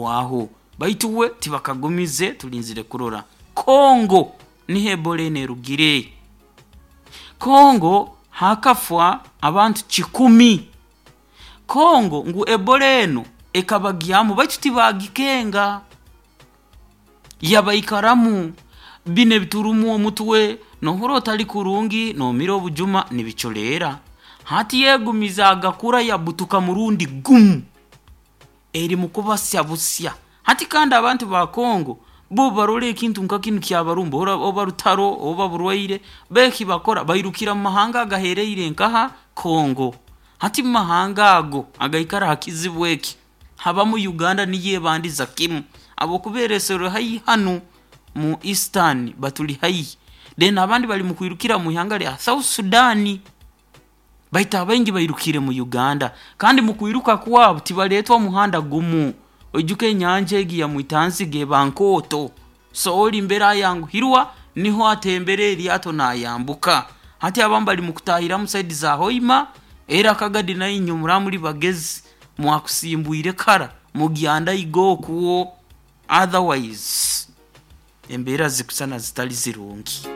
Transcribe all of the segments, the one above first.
Kuhwaho baitu we tibakagumize, tulinzire kurora. Kongo niho Ebola enu erugire. Kongo hakafwa abantu 1,000. Kongo ngu Ebola enu ekabagyamu, baitu tibagikenga, yabaikaramu. Bino ebiturumu omutwe, nohura otali kurungi, nomira obujuma nibiculeera. Hati yegumiza agakura, yabutuka murundi gumu, eri mukubasya busya hati. Kandi abantu ba Kongo bo barora ekintu nka kinu kyabarumba, oba rutaro oba burwaire, beki bakora bairukira mu mahanga agahereire nkaha Kongo. Hati mu mahanga ago agaikara ha kizibu eki habamu Uganda, niyo ebandiza kimu habwokuba ereserwe haihi hanu mu Eastern, batuli haihi. Then abandi bali mu kwirukira mu ihanga lya South Sudan, baitu abaingi bairukire mu Uganda. Kandi mu kwiruka kwabo tibaletwa muhanda gumu. Oijuke enyanja egi ya Mwitanzige eba nkooto, so oli mbere ayanguhirwa niho atembera eryato nayambuka. Hati abamu bali mu kutahiramu side za Hoima era Kagadi. Nainywe muraba muli bagezi, mwakusimbwire kara mugyanda igo okwo, otherwise embeera zikusana zitali zirungi.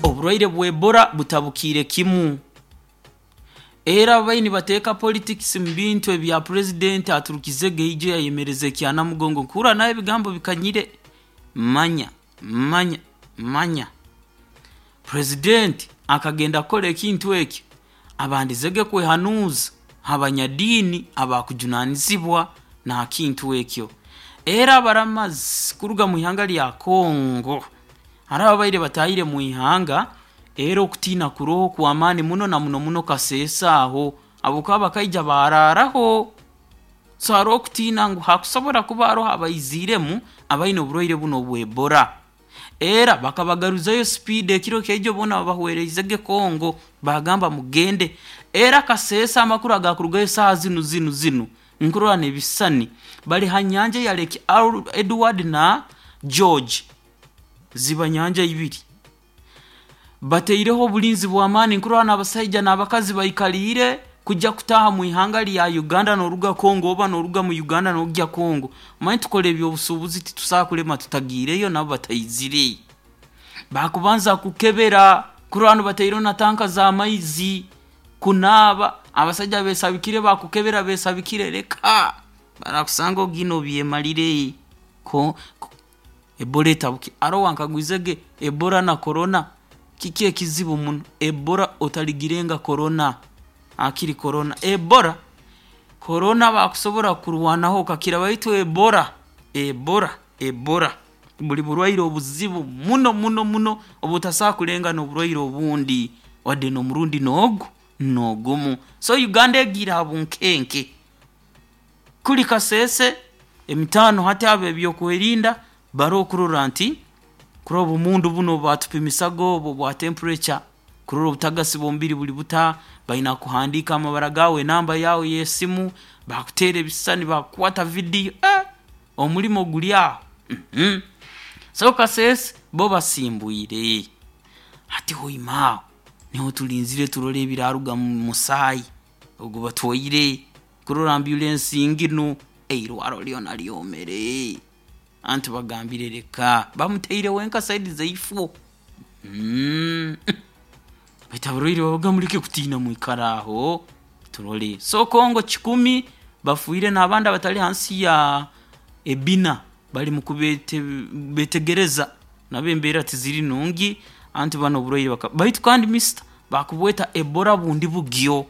Oburwaire bwa Ebola butabukiire kimu. Era ababaire nibateeka politics mu bintu ebya purezidenti aturukizege ijo yayemereza ekyanamugongo, nkuhurra nawe ebigambo bikanyire. Manya manya manya, purezidenti akagenda kukora ekintu ekyo abandizege kwehanuuza ha banyadiini abakujunanizibwa n'akintu ekyo. Era abaramazi kuruga mu ihanga lya Congo hariho ababaire batahire mu ihanga, era okutiina kuroho kw'amaani muno na muno muno Kasese aho, habwokuba bakaija baaraaraho. So haroho okutiina ngu hakusobora kuba haroho abaiziiremu abaine oburwaire bunu obwa Ebola. Era bakabagaruzayo speed ekiro kyaijo, boona babahwereizege Congo, bagamba mugende. Era Kasese amakuru agakurugayo saaha zinu zinu zinu, nkurora n'ebisisani bali ha nyanja ya Lake Edward na George, ziba nyanja ibiri. Bataireho obulinzi bw'amaani, nkurora n'abasaija n'abakazi baikaliire kujya kutaaha mu ihanga lya Uganda n'oruga Congo, oba n'oruga mu Uganda n'ogya Congo. Omanyire tukora eby'obusuubuzi, titusobola kulema tutagiireyo nabo bataizire. Bakubanza kukebera kurora hanu bataireho na tanka z'amaizi kunaaba, abasaija besabikire, bakukebera besabikire, leka barakusanga ogiine obyemalire. Ko Ebola etabuki, haroho owankagwizege, Ebola na Corona kiki ekizibu muno? Ebola otaligirenga Corona, hakiri Corona. Ebola, Corona bakusobora kukurwanaho okakira, baitu Ebola, Ebola, Ebola buli burwaire obuzibu muno muno muno obu otasobola kulenga n'oburwaire obundi wadde n'omurundi n'ogu n'ogumu. So Uganda egiire ha bunkenke. Kuli Kasese emitaano hati ab'ebyokwerinda baroho kurora nti kurora obumundu bunu obu batupimisaga obu obwa temperature, kurora obutagasi bw'omubiri buli buta, baina kuhandiika amabara gaawe, enamba yaawe y'esimu, bakuteera ebisisani, bakukwata video, omulimo guli aho. So Kasese bo basimbwire. Hati Hoima aho niho tulinzire turole ebiraruga mu musaayi ogu batwaire kurora ambulensi nginu, eirwaro lyona lyomere. Anti bagambire leka bamutaire wenka side zaifo. Baitu abarwaire babaga muleke kutiina, mwikare aho turole. So Congo 1,000 bafiire n'abandi abatali hansi ya ebina bali mu kubetegereza, nabo embeera tiziri nungi. Anti banu oburwaire baitu kandi mister bakubweta Ebola bundi bugyo,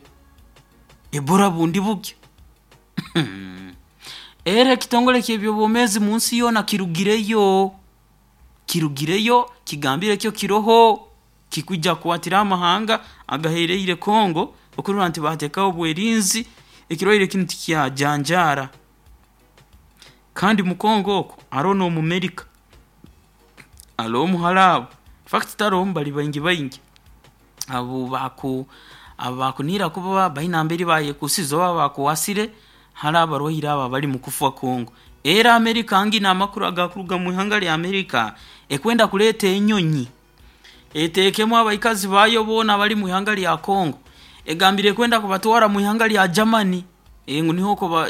Ebola bundi bugyo. Era ekitongole ky'ebyobwomeezi mu nsi yoona kirugireyo, kirugireyo kigambire kyo kiroho kikwija kukwatira amahanga agahereire Congo okurora nti bateekaho obwerinzi, ekirwaire kinu tikyajanjaara. Kandi mu Congo okwo haroho n'Omumerika, haroho Omuharabu, infact taroho omu, bali baingi baingi abu baku abakunihira kuba baine nambere bayekusize oba bakwasire hali abarwaire abo abali mu kufa Congo. Era Amerika nginu amakuru agakuruga mu ihanga lya Amerika, ekwenda kuleeta enyonyi eteekemu abaikazi baayo boona abali mu ihanga lya Congo, egambire ekwenda kubatwara mu ihanga lya Germany ngu niho oko.